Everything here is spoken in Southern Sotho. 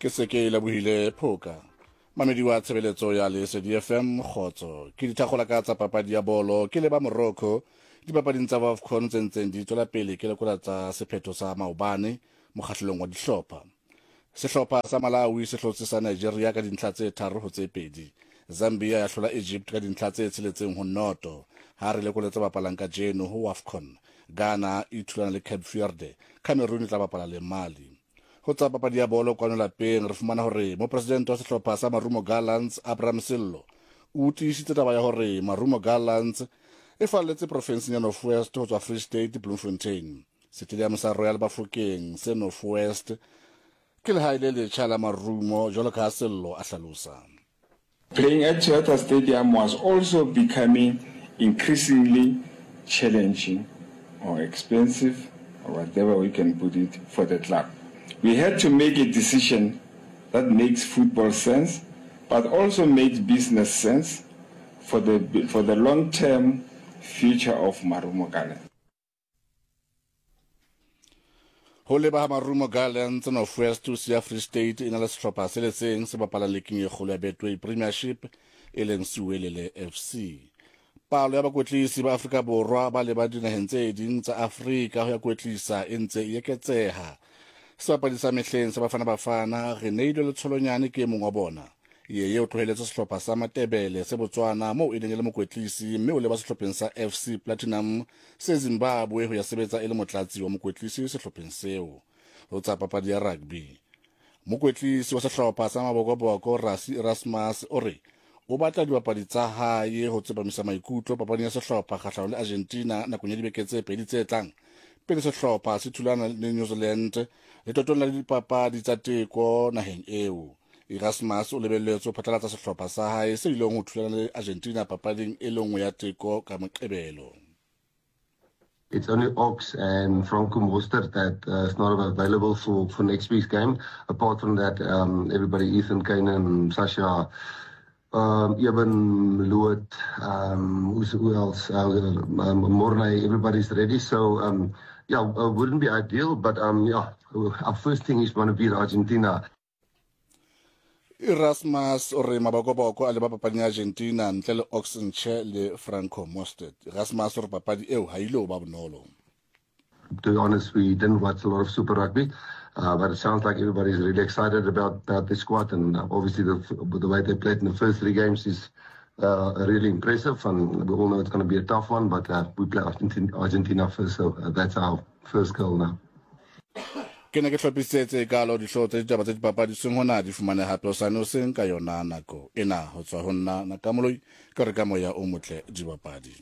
Ke se ke lebohile Phoka. Mamedi wa tshebeletso ya Lesedi FM, kgotso. Ke dithakgola ka tsa papadi ya bolo ke leba Morocco dipapading tsa Wafcon tse ntseng di tswela pele ke lekola tsa sephetho sa maobane mokgahlelong wa dihlopha. Sehlopha sa Malawi se hlotse sa Nigeria ka dintlha tse 3 ho tse 2. Zambia ya hlola Egypt ka dintlha tse 6 ho 0. Ha re lekole tse bapalang kajeno ho Wafcon, Ghana e thulana le Cape Verde, Cameroon e tla bapala le Mali. Ho tsa papadi ya bolo kwano lapeng re fumana hore mopresidente wa sehlopha sa Marumo Gallants Abraham Sello o tiisitse taba ya hore Marumo Gallants e falletse profenseng ya North West ho tswa Free State Bloemfontein. Setediamo sa Royal Bafokeng se North West ke lehae le letjha la Marumo jwalo ka ha Sello a hlalosa. Playing at Toyota Stadium was also becoming increasingly challenging or expensive or whatever we can put it for the club. We had to make a decision that makes football sense but also makes business sense for the, for the long-term future of Marumo Gallants. Ho leba ha Marumo Gallants North West ho siya Free State e na le sehlopha se le seng se bapalang leking e kgolo ya Betway Premiership e leng Siwelele FC. Palo ya bakwetlisi ba Afrika Borwa ba leba dinaheng tse ding tsa Afrika ho ya kwetlisa e ntse e eketseha. Sebapadi sa mehleng sa Bafana Bafana Reneilwe Letsholonyane ke e mong wa bona. Yeye o tloheletse sehlopha sa Matebele se Botswana moo e neng e le mokwetlisi mme o leba sehlopheng sa FC Platinum se Zimbabwe ho ya sebetsa e le motlatsi wa mokwetlisi sehlopheng seo. Ho tsa papadi ya rugby, mokwetlisi wa sehlopha sa Mabokoboko Rassie Erasmus o re o batla dibapadi tsa hae ho tsepamisa maikutlo papading ya sehlopha kgahlano le Argentina nakong ya dibeke tse pedi tse tlang pele sehlopha se thulana le New Zealand letotong la dipapadi tsa teko naheng eo. Erasmus o lebelletswe ho phatlalatsa sehlopha sa hae se ileng ho thulana le Argentina papading e le nngwe ya teko ka Moqebelo. It's only Ox and Franco Mostert that is not available for next week's game. Apart from that, everybody, Ethan Kane, Sasha, Eben, Loot, who else? Mornay, everybody's ready. So, yeah, wouldn't be ideal, but yeah, our first thing is going to beat Argentina. Erasmus o re mabokoboko a leba papading ya Argentina ntle le Ox Nche le Franco Mostert. Erasmus o re papadi eo ha ile ba bonolo. To be honest, we didn't watch a lot of Super Rugby, but it sounds like everybody's really excited about the squad, and obviously the way they played in the first three games is really impressive, and we all know it's going to be a tough one, but we play Argentina first, so that's our first goal now. Ke ne ke hlophisitse kalo dihlooho tsa ditaba tsa dipapadi seng hona di fumane hape hosane hoseng ka yona nako ena ho tswa ho nna Nakamoloi ka re ka moya o motle dibapadi.